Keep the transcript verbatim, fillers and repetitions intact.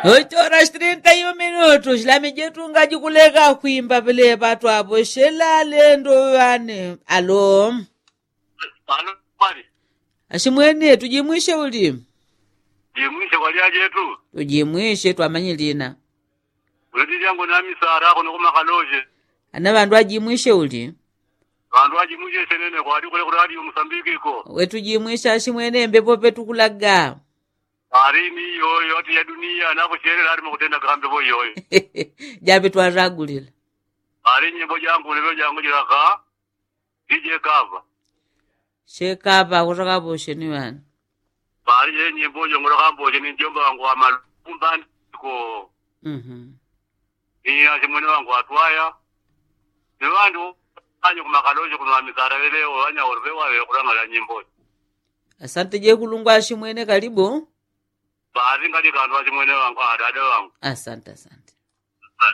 Oitora shitirinta yu minutu shilami jetu ngajikuleka kwimba pelepa twavo shela lendo ŵane. Alo? Ashimwene tujimwishe uli? Jimwishe kwalya jetu. Tujimwishe twamanyilina. Uleti jangu namisara kuno kumakaloje. Ana ŵandu ajimwishe uli? Ŵandu ajimwishe shenene kwali kule kule ali umusambikiko. Wetujimwishe ashimwene mbepo petukulaga. Arini yoyo ati ya dunia napo sherela ali mukutenda kambepo yoyo. Jape twaragulila. Ari nyimbo jangu lelo jangu jilaka. Dije kava. Shekava kutaka bosheni ŵani. Pali ye nyimbo jongoloka mbosheni njomba wangu wa malumbandiko. Mhm. Ni asimwene wangu atwaya. Ni ŵandu anyo kumakaloje kuno amisara leleo wanya orve wawe kulangala nyimbo. Asante jekulungwa asimwene kalibu. Bazi ngali kandu asimwene wangu adade wangu. Asante asante.